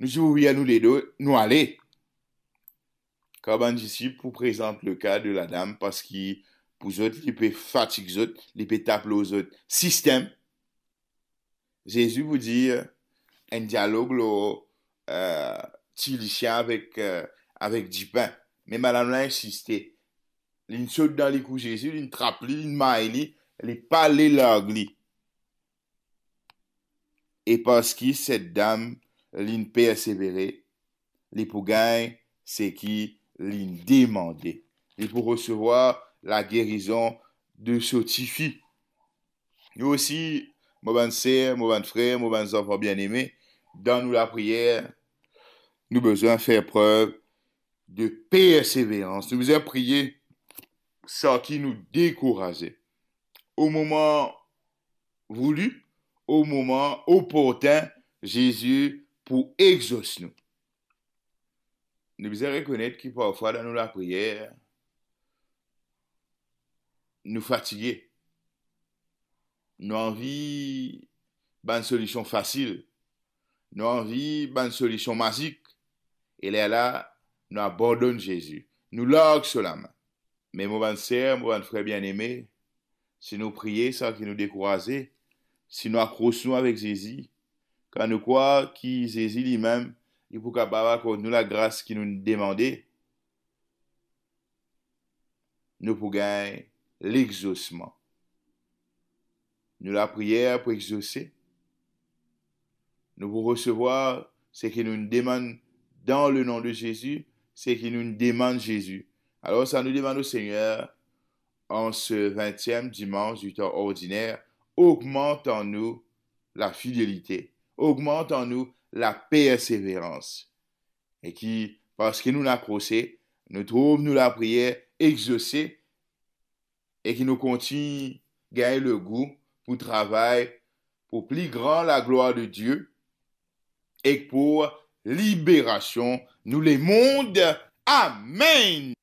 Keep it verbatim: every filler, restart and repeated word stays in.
nou dir, "Wi, anou lede, nou ale." Kan bann disip pou prezant le ka de ladam, parski pou zot, li pe fatig zot, li pe tap lor zot sistem, Zezi pou dir enn dialog lor, eh, ti lisien avek, eh, avek dipin. Me madam la insiste. Linn sot dan likou Zezi, linn trap li, linn may li, li pa le larg li. E parski set dam linn persevere, li pou gagn seki linn demande. Li pou resevwar lagerizon de so tifi. Nou osi, mo bann ser, mo bann frer, mo bann zanfan bieneme, dan nou lapriyer, nou bizin fer prev de perseverans. Nou bizin priye san ki nou dekouraze. O moman vouli, o moman oportin, Zezi pou exos nou. Nou bizin rekonet ki parfwa dan nou lapriyer, nou fatige. Nou anvi bann solision fasil. Nou anvi bann solision mazik. E lerla, nou abandonn Zezi. Nou larg so lame. Me mo bann ser, mo bann frer bieneme, si nou priye san ki nou dekouraze, si nou akros nou avek Zezi, kan nou krwar ki Zezi limem, li pou kapav akord nou lagras ki nou demande, nou pou gagn lexosman. Nou lapriyer pou exose. Nou pou resevwar seki nou demann dan le nom de Zezi, seki nou demann Zezi. Alor, sa nou demann o Segner an se vintiem dimans di tan ordiner, ogmant an nou lafidelite, ogmant an nou laperseverans. E ki, parski nou akrose, nou trouv nou lapriyer exose, e ki nou kontign gagn legou pou travay pou pli gran laglwar de Die ek pou liberasion nou lemond. Amenn!